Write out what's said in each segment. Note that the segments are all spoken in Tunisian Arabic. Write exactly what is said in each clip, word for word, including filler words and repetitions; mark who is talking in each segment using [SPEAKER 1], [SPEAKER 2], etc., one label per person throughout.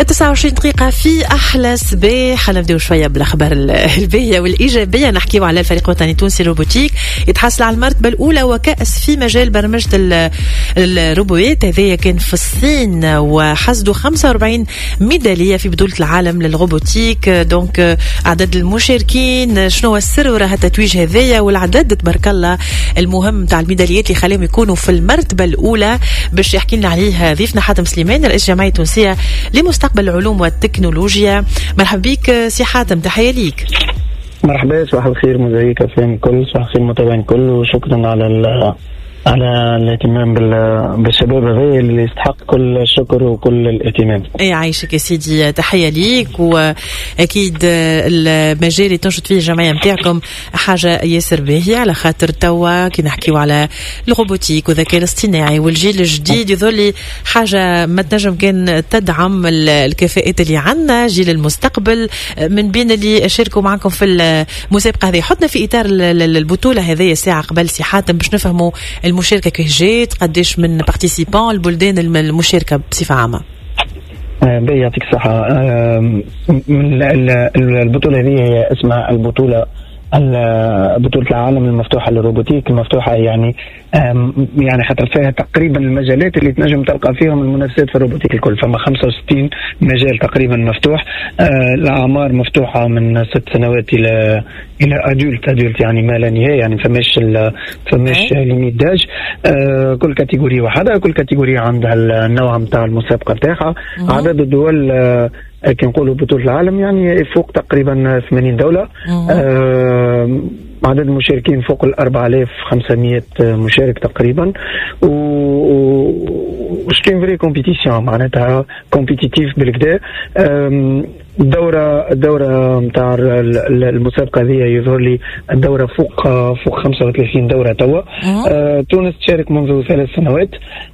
[SPEAKER 1] تسعة وعشرين دقيقة في أحلى صباح. نبداو شوية بالأخبار الباهية والإيجابية. نحكيو على الفريق الوطني التونسي robotique يتحصل على المرتبة الأولى وكأس في مجال برمجة الروبوات. هذايا كان في الصين وحصدوا خمسة وأربعين ميدالية في بطولة العالم لل robotique. donc عدد المشاركين، شنو هو السر وراء التتويج هذايا والعدد تبارك الله المهم تاع الميداليات اللي خليهم يكونوا في المرتبة الأولى؟ باش يحكي لنا عليه ضيفنا حاتم سليمان، رئيس الجمعية التونسية لمستقبل العلوم والتكنولوجيا. مرحبا بك سي حاتم، تحية ليك.
[SPEAKER 2] مرحبا، صباح الخير موزايك اف ام الكل، صباح الخير المتابعين الكل، وشكرا على على الاهتمام بالشباب هذا اللي يستحق كل الشكر وكل الاهتمام.
[SPEAKER 1] اي عايشك يا سيدي، تحية ليك، واكيد المجال اللي تنشط فيه الجمعية نتاعكم حاجة ياسر باهيه، على خاطر توا كي نحكيو على ال robotique والذكاء الاصطناعي والجيل الجديد، يظل حاجة ما تنجم كان تدعم الكفاءات اللي عندنا، جيل المستقبل. من بين اللي شاركوا معكم في المسابقة هذه، حطنا في اطار البطولة هذه ساعة قبل سي حاتم باش نفهموا المشاركة كيف جات، قداش من participants، البلدان المشاركة بصفة عامه.
[SPEAKER 2] آه، باهي، يعطيك الصحة. البطولة هذه هي اسمها البطولة بطولة العالم المفتوحة لل robotique. المفتوحة يعني يعني خاطر فيها تقريبا المجالات اللي تنجم تلقى فيهم المنافسات في ال robotique الكل. فما خمسة وستين مجال تقريبا مفتوح. آه، الاعمار مفتوحة من ست سنوات الى الى adulte adulte يعني ما لا نهايه، يعني فماش فماش limite d'âge. آه، كل catégorie وحدها، كل catégorie عندها النوع نتاع المسابقة نتاعها. عدد الدول آه، كي نقولوا بطولة العالم يعني يفوق تقريبا ثمانين دولة. آه عدد المشاركين فوق ال أربعة آلاف وخمسمية مشارك تقريبا، و c'est une vraie compétition، معناتها compétitive بالقدا. الدورة الدورة نتاع المسابقة هذه يظهر لي الدورة فوق فوق خمسة وثلاثين دورة توا. آه تونس تشارك منذ ثلاث سنوات.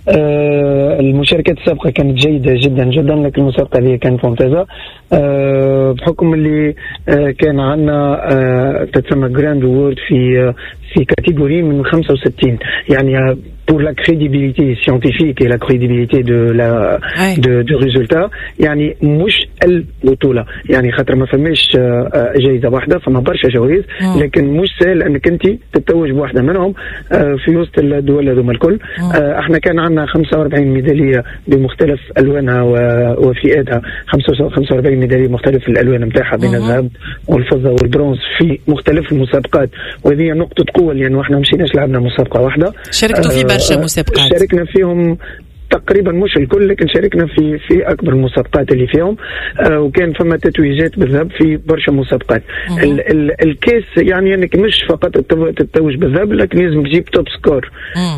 [SPEAKER 2] آه المشاركات السابقة كانت جيدة جدا جدا، لكن المسابقة هذه كانت ممتازة آه بحكم اللي آه كان عندنا آه تتسمى grand award في في catégorie من خمسة وستين، يعني pour la crédibilité scientifique et la crédibilité de la de, de résultat، يعني مش البطوله، يعني خاطر ما فماش آه، جائزة واحده، فما برشا جوائز، لكن مش سهل انك انت تتوج بواحدة منهم آه، في وسط الدول هذوما الكل. آه، احنا كان عندنا خمسة وأربعين ميدالية بمختلف الوانها وفئاتها، خمسة وأربعين ميدالية بمختلف الالوان نتاعها بين الذهب والفضة والبرونز في مختلف المسابقات، وهذه نقطة قوه، لانه احنا مشيناش لعبنا مسابقة واحده.
[SPEAKER 1] شاركتوا في برشا مسابقات.
[SPEAKER 2] شاركنا فيهم تقريبا مش الكل، لكن شاركنا في في اكبر المسابقات اللي فيهم، آه وكان فما تتويجات بالذهب في برشا مسابقات. ال ال الكاس يعني انك مش فقط تتوج بالذهب، لكن لازم تجيب top score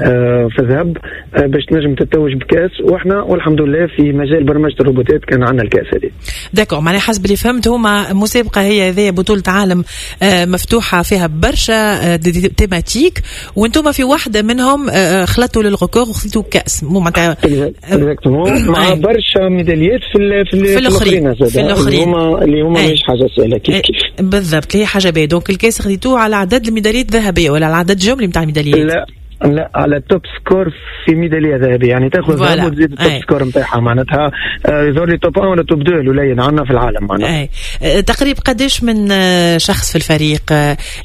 [SPEAKER 2] آه في الذهب آه باش تنجم تتوج بكاس، واحنا والحمد لله في مجال برمجة الروبوتات كان عندنا الكاس هذه.
[SPEAKER 1] d'accord، معناها حسب اللي فهمت هما مسابقة هي هذه بطوله عالم آه مفتوحة فيها برشا آه thématiques، وانتم في واحدة منهم آه خلطوا لل record وخذيتوا كاس، مو معناتها
[SPEAKER 2] exactement، مع برشا ميداليات في ال في,
[SPEAKER 1] في الاخرين.
[SPEAKER 2] في الاخرين اللي هما اللي هما مش حاجة سهله، كيف كيف.
[SPEAKER 1] بالضبط، هي حاجة باهيه. donc الكاس خذيتوه على عدد الميداليات الذهبية ولا على عدد جملي نتاع الميداليات؟
[SPEAKER 2] لا لا، على top score في ميدالية ذهبيه، يعني تاخذ ذهب وتزيد ال top score نتاعها، معناتها آه، يظهر لي top واحد ولا top اثنين الاولين عندنا في العالم معناتها.
[SPEAKER 1] اي آه، تقريبا قداش من آه، شخص في الفريق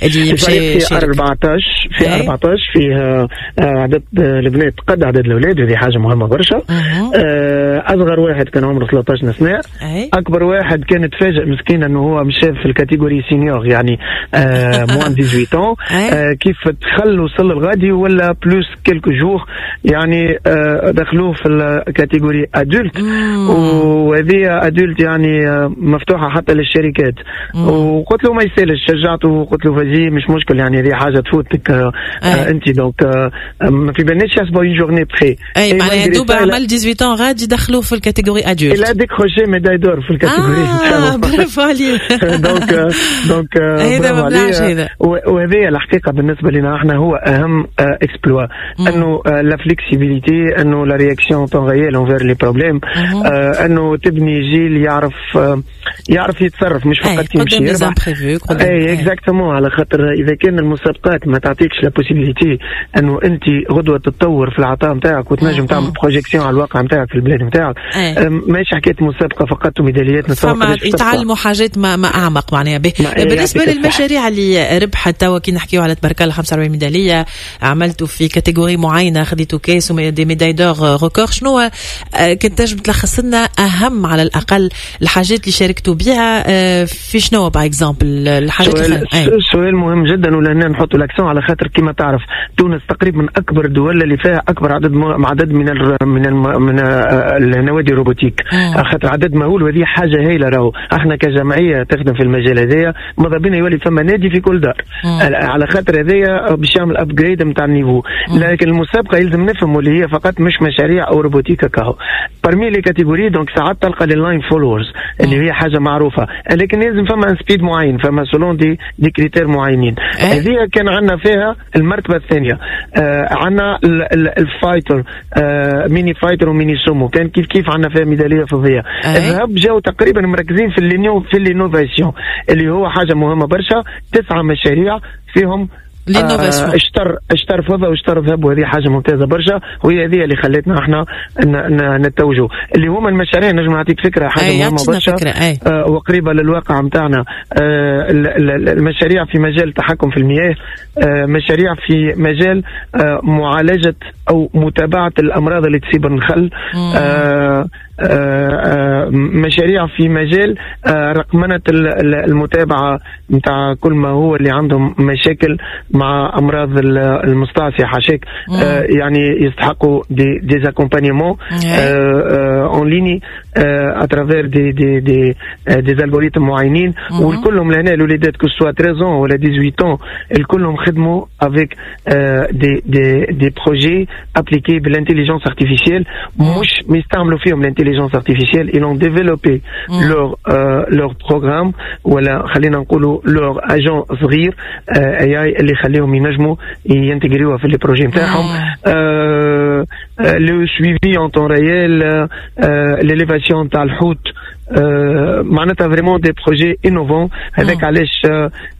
[SPEAKER 2] اللي مشى؟ في أربعطاش، في أربعطاش، فيه عدد البنات قد عدد الاولاد، وهذه حاجة مهمة برشا. اصغر واحد كان عمره ثلاثطاش سنه. أي. اكبر واحد كان تفاجئ مسكين انه هو مشى في ال catégorie senior، يعني moins ثمنطاش، كيف دخل وصل الغادي ولا plus quelques jours، يعني آه، دخلوه في ال catégorie adulte، وهذه adulte يعني آه، مفتوحة حتى للشركات. وقلت له ما يسالش، شجعته وقلت له vas-y، مش مشكل، يعني هذه حاجة تفوتك آه انت، donc ما في بالناش يحسبوا une journée près.
[SPEAKER 1] اي معناها دوبا عمل ثمنطاش غادي دخلوه في ال catégorie adulte.
[SPEAKER 2] il a décroché médaille d'or في ال catégorie.
[SPEAKER 1] اه، برافو عليه.
[SPEAKER 2] donc donc
[SPEAKER 1] هذا ما هذا.
[SPEAKER 2] وهذه الحقيقة بالنسبة لنا احنا هو اهم expérience. l'exploit، انه la flexibilité، انه la réaction en temps réel envers les problèmes، انه تبني جيل يعرف يعرف يتصرف، مش فقط يمشي
[SPEAKER 1] يربح.
[SPEAKER 2] اي exactement، على خاطر اذا كان المسابقات ما تعطيكش la possibilité انه انت غدوه تتطور في العطاء نتاعك وتنجم تعمل projection على الواقع نتاعك في البلاد نتاعك، ماهيش حكاية مسابقة فقط وميداليات.
[SPEAKER 1] فما يتعلموا حاجات ما, ما اعمق معناها. بالنسبة للمشاريع اللي ربحت توا، كي نحكيو على تبارك الله خمسة وأربعين ميداليه، عملتوا في catégorie معينه، خذيتوا كاس و des médailles d'or record، شنو كنت تنجم تلخص لنا اهم على الاقل الحاجات اللي شاركتوا بها في شنو par exemple الحاجات؟
[SPEAKER 2] سؤال, سؤال مهم جدا، ولهنا نحطوا l'accent على خاطر كما تعرف تونس تقريبا من اكبر الدول اللي فيها اكبر عدد عدد من ال من ال من النوادي ال robotique، خاطر عدد مهول، وهذه حاجة هايله. راهو احنا كجمعية تخدم في المجال هذايا ماذا بينا يولي فما نادي في كل دار، على خاطر هذايا باش يعمل upgrade نتاع ال niveau. لكن المسابقة يلزم نفهموا اللي هي فقط مش مشاريع او robotique كهو. parmi les catégories donc ساعات تلقى les line followers اللي هي حاجة معروفه، لكن لازم فما un speed معين، فما selon des des critères معينين. هذه كان عندنا فيها المرتبة الثانيه. آه عندنا ال fighter، آه mini fighter و mini sumo، كان كيف كيف عندنا فيها ميدالية فضيه. الذهب جاو تقريبا مركزين في في l'innovation اللي هو حاجة مهمة برشا، تسعة مشاريع فيهم
[SPEAKER 1] l'innovation.
[SPEAKER 2] آه اشتر اشتر فضة واشتر ذهب، وهذه حاجة ممتازة برشا، وهي هذه اللي خلتنا احنا نتوجوا اللي هما المشاريع. نجم نعطيك فكره، حاجة مهمة برشا آه وقريبه للواقع نتاعنا. آه المشاريع في مجال التحكم في المياه، آه مشاريع في مجال آه معالجة او متابعه الامراض اللي تصيب النخل، آه آه مشاريع في مجال آه رقمنة المتابعة نتاع كل ما هو اللي عندهم مشاكل مع أمراض المستعصية حاشاك، آه يعني يستحقوا des des accompagnements en ligne à travers des des des des algorithmes معينين. والكلهم لهنا الوليدات que ce soit treize ولا dix-huit، الكلهم خدموا avec des des des projets appliqués بال intelligence artificielle، مش يستعملوا فيهم l'intelligence artificielle، ils ont développé mm. leur euh, leur programme ولا خلينا نقولوا leur agent صغير A I اللي يخليهم ينجموا ينتجريوها في les projets نتاعهم، le suivi en temps réel، l'élévation تاع الحوت، معناتها vraiment des projets innovants. هذاك علاش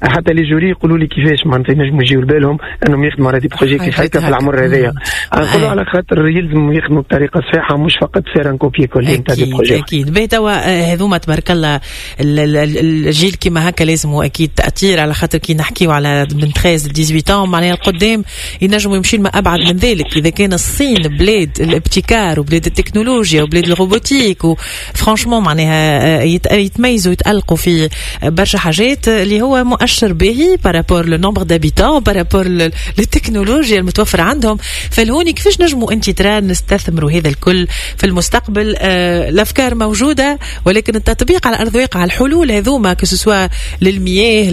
[SPEAKER 2] حتى les jurys يقولوا لي كيفاش معناتها ينجموا يجيو لبالهم انهم يخدموا على des projets كيف هكا في العمر هذايا. نقولوا على خاطر يلزم يخدموا بطريقة صحيحه، مش فقط faire un copier-coller نتاع des
[SPEAKER 1] projets. اكيد. باهي، توا هذوما تبارك الله الجيل كيما هكا لازم اكيد تاثير، على خاطر كي نحكيو على من تلتاش ل ثمنطاش معناها القدام ينجموا يمشيو ما ابعد من ذلك. اذا كان الصين بلاد الابتكار وبلاد التكنولوجيا وبلاد ال robotique و franchement معناها يتميزوا يتألقوا في برشا حاجات، اللي هو مؤشر باهي par rapport le nombre d'habitants، par rapport للتكنولوجيا المتوفرة عندهم. فالهوني كيفاش نجموا انت ترى نستثمروا هذا الكل في المستقبل؟ آه الافكار موجودة ولكن التطبيق على ارض الواقع، الحلول هذوما que ce soit للمياه،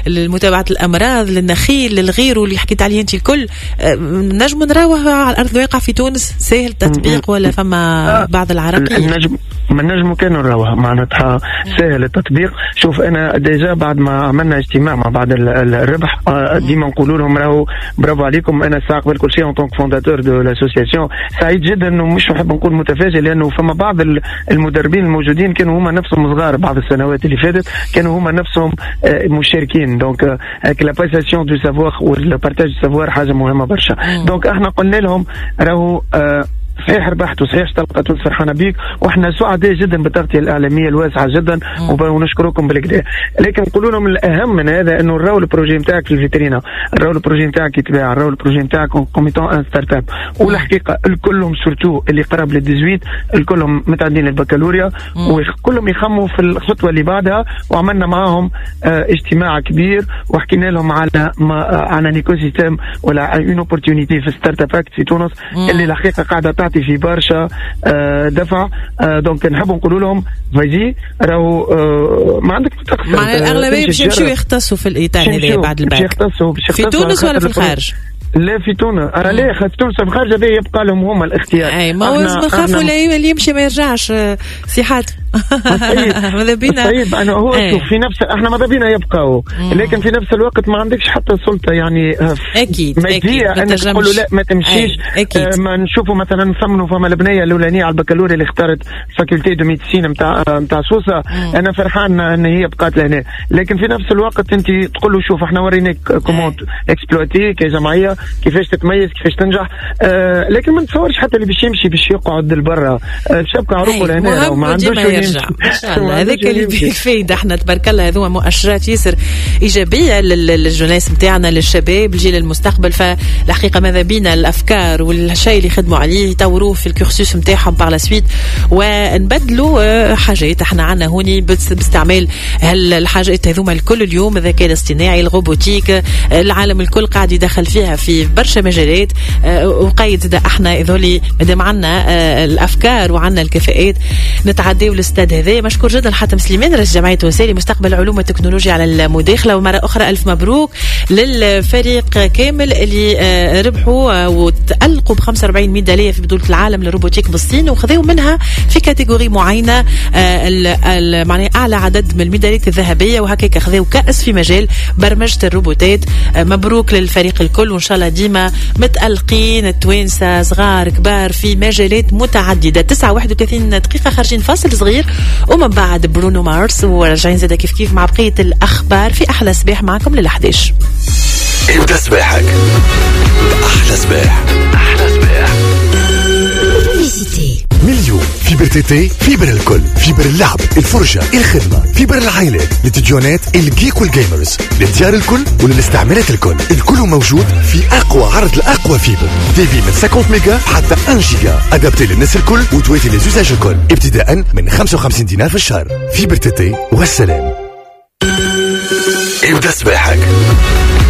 [SPEAKER 1] للمتابعة الامراض، للنخيل، للغير واللي حكيت عليه انت الكل، آه نجموا نراوه على ارض الواقع في تونس؟ سهل التطبيق ولا فما بعض العراقيل؟
[SPEAKER 2] نجم ما نجموا كانوا نراوها معناتها سهل التطبيق. شوف، انا déjà بعد ما عملنا اجتماع مع بعد الربح، آه، ديما نقولوا لهم راهو برافو عليكم. انا ساعة قبل كل شيء en tant que fondateur de l'association سعيد جدا، ومش نحب نقول متفاجئ، لانه فما بعض المدربين الموجودين كانوا هما نفسهم صغار بعض السنوات اللي فاتت، كانوا هما نفسهم آه، مشاركين. donc la passation du savoir وال partage du savoir حاجة مهمة برشا. donc احنا قلنا لهم راهو آه، صحيح ربحت وصحيح تلقى تونس فرحانة بيك، واحنا سعداء جدا بالتغطيه الاعلامية الواسعة جدا ونشكركم بالكدا، لكن نقولوا لهم الاهم من هذا انه نراو ال projet نتاعك في الفيترينا، نراو ال projet نتاعك يتباع، نراو ال projet نتاعك comme étant une startup. والحقيقة الكلهم surtout اللي قرب لل ثمنطاش الكلهم متعدين البكالوريا وكلهم يخموا في الخطوة اللي بعدها. وعملنا معاهم اه اجتماع كبير وحكينا لهم على ما على un écosystème ولا une opportunité في Startup Act في تونس اللي الحقيقة قاعدة تعطي في برشا آه، دفع. آه، donc نحب نقولوا لهم vas-y، راهو آه، ما عندك
[SPEAKER 1] تخسر. مع الاغلبية باش يمشيو يختصوا في الاطار هذا بعد الباك.
[SPEAKER 2] يختصوا
[SPEAKER 1] في تونس ولا في الخارج؟
[SPEAKER 2] لا، في تونس. انا لا، في تونس، في الخارج هذا يبقى لهم هما الاختيار.
[SPEAKER 1] اي، ما هو نخافوا اللي يمشي ما يرجعش، سي حاتم. ماذا بينا
[SPEAKER 2] طيب انا هو شوف في نفس احنا ماذا بينا يبقاو، لكن في نفس الوقت ما عندكش حتى سلطة يعني
[SPEAKER 1] اكيد
[SPEAKER 2] مادية انك تقول له لا ما تمشيش. أكيد. ما نشوفوا مثلا نثمنوا فما البنية الاولانية على البكالوريا اللي اختارت faculté de médecine نتاع نتاع سوسة، انا فرحان ان هي بقات لهنا، لكن في نفس الوقت انت تقول له شوف احنا وريناك comment exploiter كجمعية كيفاش تتميز كيفاش تنجح. آه لكن ما نتصورش حتى اللي باش يمشي باش يقعد لبرا باش يبقى عروقه لهنا وما عندوش
[SPEAKER 1] يرجع. ان شاء الله هذاك اللي بالفايده. احنا تبارك الله هذوما مؤشرات ياسر ايجابية لل jeunesse نتاعنا، للشباب، الجيل المستقبل. فالحقيقة ماذا بينا الافكار والشيء اللي خدموا عليه يطوروه في ال cursus نتاعهم par la suite، ونبدلوا حاجات احنا عندنا هوني باستعمال الحاجات هذوما الكل. اليوم الذكاء الاصطناعي، ال robotique، العالم الكل قاعد يدخل فيها في برشا مجالات. وقيد احنا هذولي مادام عندنا الافكار وعندنا الكفاءات نتعداو للاستاد هذا. مشكور جدا حاتم سليمان رئيس جمعية التونسية لمستقبل العلوم والتكنولوجيا على المداخلة، ومرة اخرى الف مبروك للفريق كامل اللي ربحوا وتألقوا ب خمسة وأربعين ميدالية في بطوله العالم لل robotique بالصين، وخذوا منها في catégorie معينة معناها اعلى عدد من الميداليات الذهبية، وهكاك خذوا كأس في مجال برمجة الروبوتات. مبروك للفريق الكل، وان شاء الله ديما متألقين التوانسة صغار كبار في مجالات متعددة. تسعة وواحد وثلاثين دقيقة خارجين فاصل صغير، ومن بعد برونو مارس، وراجعين زاده كيف كيف مع بقية الاخبار في احلى صباح معكم للأحداش.
[SPEAKER 3] ابدا صباحك احلى صباح. احلى صباح. مليون fibre TT، fibre الكل، fibre اللعب، الفرجة، الخدمة، fibre العائلات، للتديونات، ال geek وال gamers، للديار الكل وللاستعمالات الكل، الكل موجود في أقوى عرض لأقوى fibre، débit من خمسين ميجا حتى واحد جيجا، adapté للناس الكل وتواتي les usages الكل، ابتداء من خمسة وخمسين دينار في الشهر. fibre TT والسلام. ابدأ صباحك